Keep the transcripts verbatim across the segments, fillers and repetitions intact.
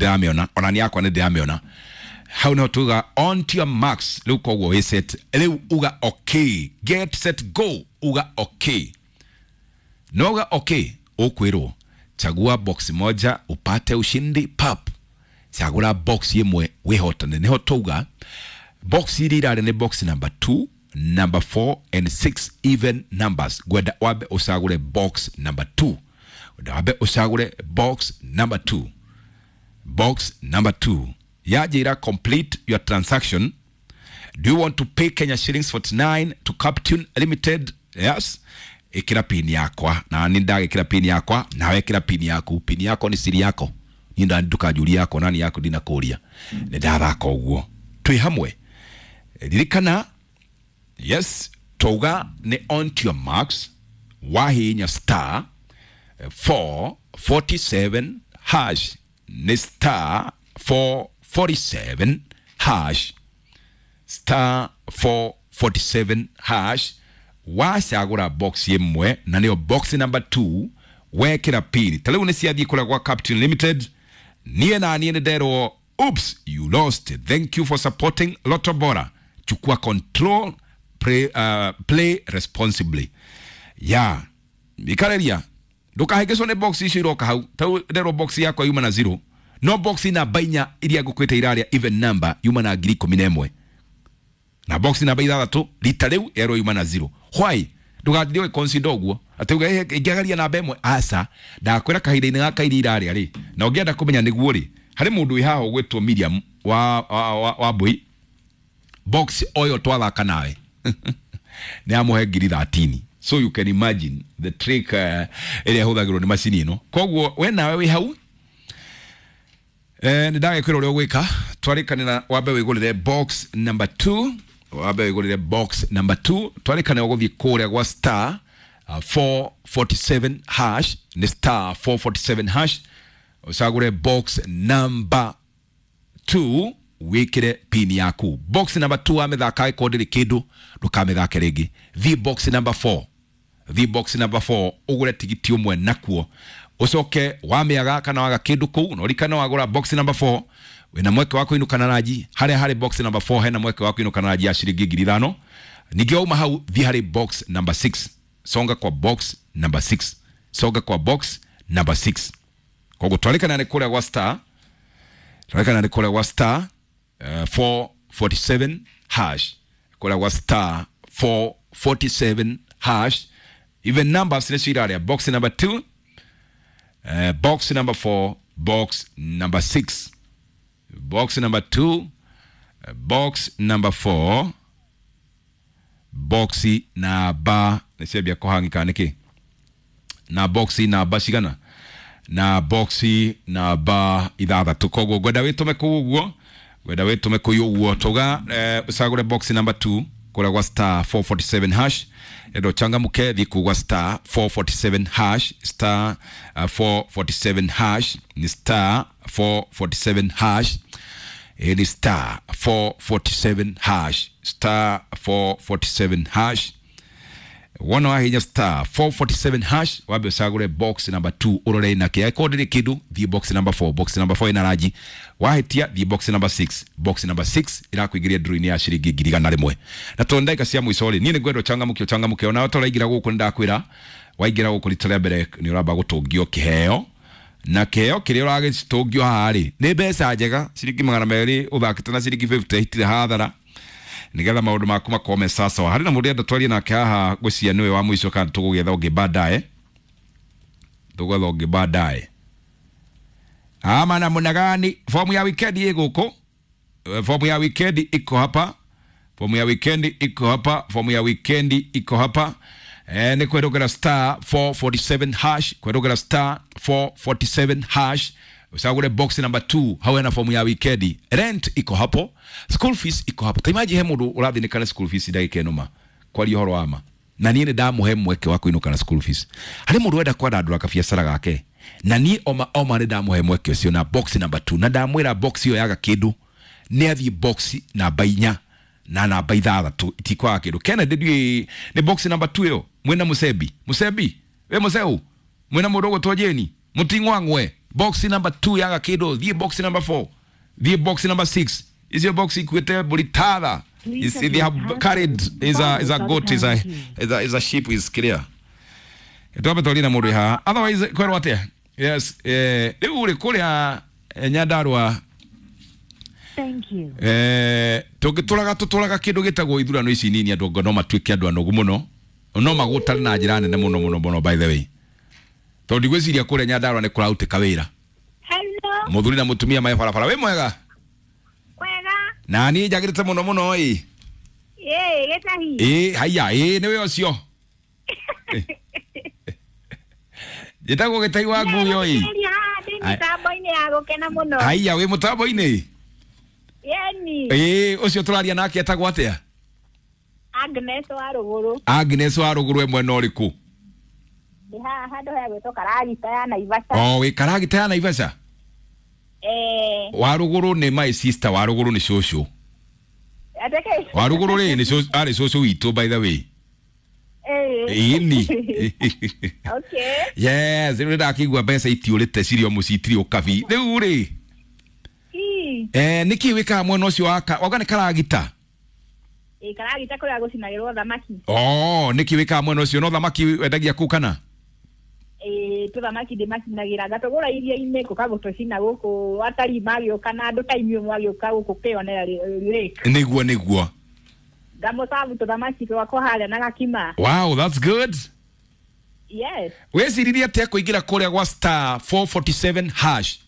Ndĩramĩona ona nĩ yakwa, nĩ ndĩramĩona hau. No tuga on to your marks. Rĩu koguo wĩ set. Rĩu uga okay, get set go. Uga okay, no uga okay, ũkwĩrwo chagua box moja upate ushindi pap. Chagura box imwe wihotane. Niho tuga box iria irarĩ nĩ box number two, number four and six, even numbers. Ngwenda wambe ũcagũre box number two, ngwenda wambe ũcagũre box number two, box number two. Yanjĩra complete your transaction. Do you want to pay Kenya shillings forty-nine to Captune Limited? Yes. Ikira pin yakwa, na ni ndagikira pin yakwa, nawe ikira pin yaku. Pin yako ni siri yako, ni nda ndukanjuria yakwa nani yaku ndinakũria. Nĩ ndathaka ũguo twĩ hamwe. Ririkana, yes, twauga nĩ on to your marks, wahihinya star four forty-seven hash, nĩ star four forty-seven hash, star four forty-seven hash. Wacagũra box ĩmwe na nĩyo box number two, wekĩra pin. Ta rĩu nĩ ciathiĩ kũrĩa gwa Captain Limited. Niĩ na niĩ nĩ nderwo, "Oops, you lost. Thank you for supporting Lotto Bora. Chukua control, play, uh, play responsibly." Ya ikareria ndukahĩngĩcwo nĩ box icio iroka hau. Tau nderwo box yakwa yuma na zero, no box namba inya iria ngũkwĩte irarĩa even number yuma na ngiri ikũmi na ĩmwe, na box namba ithathatũ rita rĩu erwo yuma na zero. Why? Ndũgatinde ũgĩconsider ũguo atĩ uge ingĩagaria namba ĩmwe. Aca, ndakwĩra kahinda-inĩ gaka iria irarĩa rĩ, na ũngĩenda kũmenya nĩguo rĩ, harĩ mũndũ wĩ haha ũgwĩtwo Miriam wa, wa, wa, wa Mbui. Box oyo twathaka nawe nĩ amũhe ngiri thirteen. So you can imagine the trick uh, ĩrĩa ĩhũthagĩrwo nĩ macini ĩno. Koguo we nawe wĩ hau, eh, nĩ ndagĩkwĩra ũrĩa ũgwĩka. Twarĩkanĩra wambe wĩgũrĩre box number two, wambe wĩgũrĩre box number two. Twarĩkanĩra ũgũthiĩ kũrĩa gwa star uh, four forty-seven hash, nĩ star four forty-seven hash, ũcagũre box number two, wĩkĩre pin yaku. Box number two wamĩthaka, ĩkorwo ndĩrĩ kĩndũ, ndũkamĩthake rĩngĩ. Thiĩ box number four, thiĩ box number four, ũgũre tigiti ũmwe nakuo, ũcoke wamĩaga kana waga kĩndũ kũu. Na ũrikane wagũra box number four wĩna mweke wa kũinũka na ranji. Harĩa harĩ box number four hena mweke wa kũinũka na ranji ya ciringi ngiri ithano. Ningĩ wauma hau, thiĩ harĩ box number six, songa kwa box number six, songa kwa box number six. Koguo twarĩkana nĩ kũrĩa gwa star, twarĩkana nĩ kũrĩa gwa star uh, four forty-seven hash, kũrĩa gwa star four forty-seven hash. Even numbers nĩcio irarĩa box number two, uh, box number four, box number six, box number two, uh, box number four, box namba nĩciambia kũhang'ika nĩkĩ? Na box namba cigana? Na box namba ithathatũ. Koguo ngwenda wĩtũme kũu ũguo, ngwenda wĩtũme kũu ũguo. Tuga eh, ũcagũre box number two kũrĩa gwa star four forty-seven hash. Endo changamuke, thiĩ kũu gwa star four forty-seven hash, star uh, four forty-seven hash, ni star four forty-seven hash, ĩ ni star four forty-seven hash, star four forty-seven hash. Wona wahinya star four forty-seven hash, wambe ũcagũre box number two, ũrore inake. Angĩkorwo ndĩrĩ kĩndũ, thiĩ box number four. Box number four ĩna ranji. Wahĩtia, thiĩ box number six. Box number six ĩrakũingĩria ndũrũ-inĩ ya ciringi ngiri igana rĩmwe. Na tondũ ndagĩka cia mũico rĩ, niĩ nĩ ngwenda ũchangamũke, ũchangamũke. Onawe tũraingĩra gũkũ, nĩ ndakwĩra waingĩra gũkũ rita rĩa mbere nĩ ũramba gũtũngio kĩheo, na kĩheo kĩrĩa ũragĩtũngio haha rĩ nĩ mbeca njega, ciringi magana merĩ. Ũthakĩte na ciringi mĩrongo ĩtano, itirĩ hathara, nigetha maũndũ maku makorwo me sawa. Harĩ na mũndũ enda twarie nake haha, ngwĩciria nĩwe wa mũico, kana tũgũgĩetha ũngĩ baadaye, tũgwetha ũngĩ baadaye ama namna gani? Fomu ya weekend ĩ gũkũ. Eh, fomu ya weekend iko hapa, fomu ya weekend iko hapa, fomu ya weekend iko hapa. Eh, nĩ kwĩrũgĩra star four forty-seven hash, kwĩrũgĩra star four forty-seven hash, ucagũre box number two. Hau hena fomu ya weekend. Rent iko hapo, school fees iko hapo. Taimaji he mũndũ ũrathĩnĩka na school fees ndagĩka ĩno, ma kwaria ũhoro wa ma, na niĩ nĩ ndamũhe mweke wa kũinũka na school fees. Harĩ mũndũ wenda kwandandũra kabiacara gake, na niĩ oma oma nĩ ndamũhe mweke ũcio na box number two, na ndamwĩra box ĩyo yaga kĩndũ nĩ athiĩ box namba inya na namba ithathatũ, itikwaga kĩndũ. Kennedy, ndiũĩ nĩ box number two ĩyo mwĩna mũcebi, mũcebi we mũceu, mwĩna mũndũ ũgũtwo Jeni mũting'wang'we. Box number two yaga kindu, thiĩ box number four, thiĩ box number six. Icio box ikuĩte mbũri tatha. Is, they have carried is a is a goat, is a is a is a sheep, is clear. Twambe twarie na mũndũ wĩ haha, otherwise kwerwo atĩa? Yes, eh, rĩu rĩ kũrĩa eh, Nyandarua. Thank you. Eh, tũngĩtũraga tũtũraga kĩndũ gĩtagwo ithurano ici nini, andũ anga no matuĩke andũ anogu mũno, no magũtare na njĩra nene mũno mũno mũno. By the way, tondũ ndigwĩciria kũrĩa Nyandarua nĩ kũrarutĩka wĩra. Hello. Mũthuri na mũtumia me barabara, wĩ mwega? Kwega. Na niĩ njagĩrĩte mũno mũno ĩ. Ĩĩ, gĩtahi. Ĩ haiya, ĩ nĩwe ũcio njĩtagwo Gĩtai wa Nguyo ĩ. Ndĩ mĩtambo-inĩ ya gũkena mũno. Haiya, wĩ mũtambo-inĩ? Yeni. Ĩ ũcio tũraria nake etagwo atĩa? Agnes wa Rũgũrũ. Agnes wa Rũgũrũ, e mwena ũrĩkũ? Ndĩ haha handũ ha gwĩtwo Karagita ya Naivasha. O wĩ Karagita ya Naivasha? Eh. Wa Rũgũrũ nĩ my sister, wa Rũgũrũ nĩ cũcũ. Ateke. Wa Rũgũrũ rĩ nĩ cũcũ, arĩ cũcũ witũ, by the way. Eh. Ĩni. Okay. Yes, rĩu nĩndakĩigua mbeca itiũrĩte cirĩ o mũciĩ, itirĩ ũkabi rĩu rĩ. Ii. Eh, nĩkĩ wĩkaga mwena ũcio wa ka- wauga nĩ Karagita? Ĩ, Karagita kũrĩa gũcinagĩrwo thamaki. Oh, nĩkĩ wĩkaga mwena ũcio? No thamaki wendagia kũu kana? Ĩ, tũthamaki ndĩmacinagĩra, ngatũgũra iria-inĩ gũka gũtũcina gũkũ, atarii magĩũka na andũ ta inyuĩ mwagĩũka gũkũ kwĩyonera lake. Nĩguo nĩguo. Ngamũcabu tũthamaki twakwa harĩa na gakima. Wow, that's good. Yes. Wĩciririe atĩa kũingĩra kũrĩa gwa star four forty-seven hash?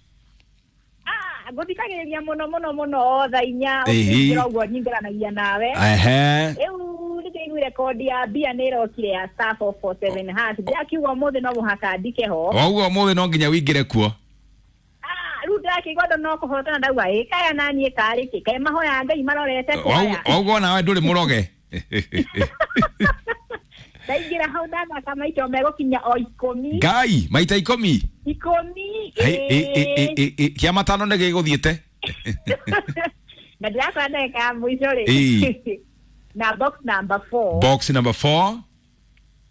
Ah, ngũthikagĩrĩria mũno mũno mũno o thaa inya. Ĩhĩ. Ũkĩingĩra ũguo nyingĩranagia nawe. Ehe. Rĩu nĩndĩiguire kondi ya mbia nĩ ĩrokire ya star four four seven hash, ndĩrakiuga ũmũthĩ no mũhaka ndike ho. Wauga ũmũthĩ no nginya wĩingĩre kuo. Ah, rĩu ndĩrakĩigua andũ no kũhotana, ndauga ĩ kaya naniĩ karĩ kĩ kaĩ mahoya Ngai marorete kwaya. Wauga onawe ndũrĩ mũroge. Ndaingĩra hau ndathaka maita megũkinya o ikũmi. Ngai, maita ikũmi? Ikũmi. Hei, ĩ, ĩ, ĩ, ĩ, ĩ, kĩa matano nĩ gĩgũthiĩte. Na ndĩrakora ndagĩka ya mũico rĩ, Ĩĩ. na box number four. Box number four.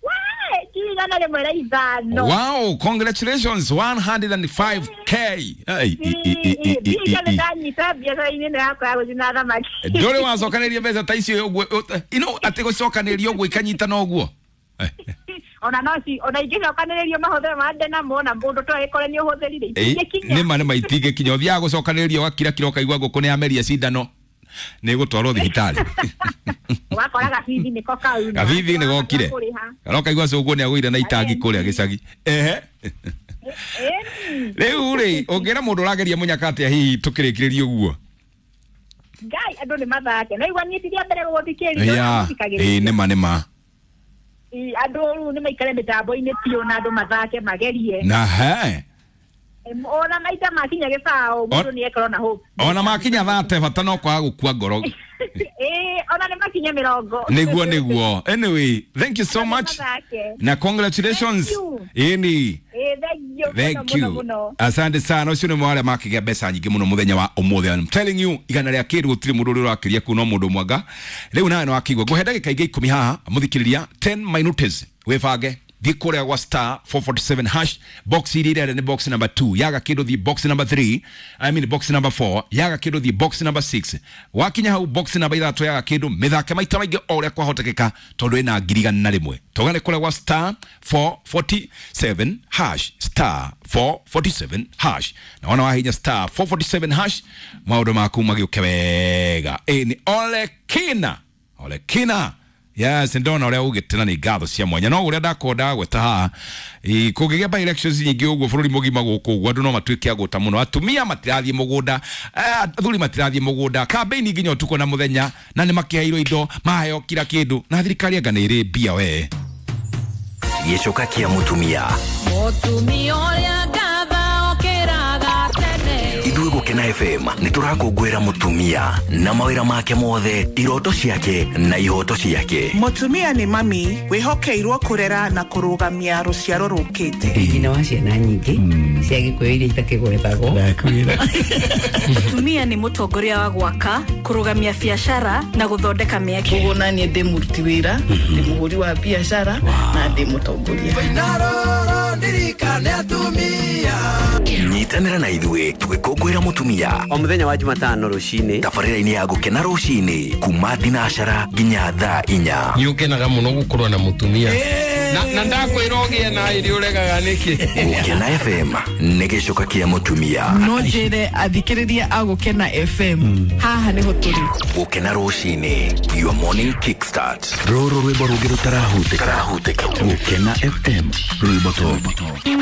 Wee, ngiri igana rĩmwe rĩa ithano. Wow, congratulations, one hundred and five K. Ai, i, i, i, i, i, i, Ndiga i. ndanyita biacara-inĩ ĩno yakwa ya gũcina thamaki. Ndũrĩ wacokanĩria mbeca ta icio ũguo, ũ- ino atĩ gũcokanĩria ũguo ikanyitana ũguo. Ona no ci ona ingĩcokanĩrĩrio mahũthĩro ma ndĩ namo na mũndũ to ĩkore nĩ ũhũthĩrire Ĩ, itingĩkinya. nĩma nĩma itingĩkinya, ũthiaga gũcokanĩrĩria ũgakira kira ũkaigua ngũkũ nĩ yameria cindano nĩ gũtwarwo thibitarĩ. Ũgakora gabithi nĩko kau. Gabithi nĩ gokire. Kana ũkaigua cũguo nĩ agũire na itangi kũrĩa gĩcagi. Ehe. Ĩni. Rĩu rĩ, ũngĩra mũndũ ũrageria mũnyaka atĩa hihi tũkĩrĩkĩrĩria ũguo? Ngai, andũ nĩ mathake. No igua niĩ ti rĩa mbere gũgũthikĩrĩria. Ya, ĩ nĩma nĩma. Ĩ, andũ rĩu nĩ maikare mĩtambo-inĩ biũ na andũ mathake magerie. Na he. Em, ona maita makinya gĩbaũ mũndũ nĩ ekorwo na hope. Ona makinya thate bata no kwaga gũkua ngoro. Ĩ, ona nĩ makinya mĩrongo. Nĩguo nĩguo. Anyway, thank you so Andũ much. mathake. Na congratulations. Thank you. Ĩni. Ĩ, thank you mũno, Thank mũno, you. mũno. Asante sana. Ũcio nĩ mwarĩa makĩgĩa mbeca nyingĩ mũno mũthenya wa ũmũthĩ. I'm telling you, igana rĩa kĩndũ gũtirĩ mũndũ ũrĩa ũrakĩria kuu no mũndũ mwanga. Rĩu nawe nĩ wakĩigua. Ngũhe ndagĩka ingĩ ikũmi haha mũthikĩrĩria, ten minutes wĩbange. Thiĩ kũrĩa gwa star four forty-seven hash, box iria irere nĩ box number two, yaga kĩndũ thiĩ box number three, I mean box number four, yaga kĩndũ thiĩ box number six. Wakinya hau box number ithatũ yaga kĩndũ, mĩthake maita maingĩ o ũrĩa kwahotekeka tondũ ĩna ngiri igana rĩmwe. Togane kũrĩa gwa star four forty-seven hash, star four forty-seven hash. Na wona wahinya star four forty-seven hash, maũndũ maku magĩũke wega. Ĩ nĩ Ole Kina, Ole Kina. Yes, ndona ũrĩa ugĩte na nĩ ngatho cia mwanya. No ũrĩa ndakorwo ndagweta haha, ĩ, kũngĩgĩa by elections nyingĩ ũguo bũrũri mũgima gũkũ ũguo, andũ no matuĩke a gũta mũno. Atumia matirathiĩ mũgũnda, eh, athuri matirathiĩ mũgũnda, campaign nginya ũtukũ na mũthenya, na nĩ makĩheirwo indo, maheo kila kĩndũ, na thirikari anga nĩ ĩrĩ mbia we. Gĩcoka kĩa mũtumia. Mũtumia ũrĩa ngatha okĩraga tene. Ithuĩ Gũkena F M nĩ tũrakũngũĩra mũtumia na mawĩra make mothe, iroto ciake na ihoto ciake. Mũtumia nĩ mami wĩhokeirwo kũrera na kũrũgamia rũciaro rũkĩte. Nyina wa ciana nyingĩ cia Gĩkũyũ iria itakĩgwetagwo. Ndakwĩra. Mũtumia nĩ mũtongoria wa gwaka, kũrũgamia biacara na gũthondeka mĩeke. Koguo na niĩ ndĩ mũruti wĩra, ndĩ mũhũri wa biacara na ndĩ mũtongoria. Naroro ndirikane atumia. Nyitanĩra na ithuĩ tũgĩkũngũĩra mũtumia o mũthenya wa Jumatano rũcinĩ tabarĩra-inĩ ya Gũkena rũcinĩ kuma thinacara nginya thaa inya. Nĩ ũkenaga mũno gũkorwo na mũtumia na, na ndakwĩra ũgĩe na ĩrĩ ũregaga nĩkĩ. Gũkena F M nĩ gĩcoka kĩa mũtumia. No njĩre athikĩrĩria a Gũkena F M haha nĩho tũrĩ. Gũkena rũcinĩ, your morning kickstart. Rũrũ rwĩmbo rũngĩ rũtarahutĩka. Gũkena F M rwĩmbo top.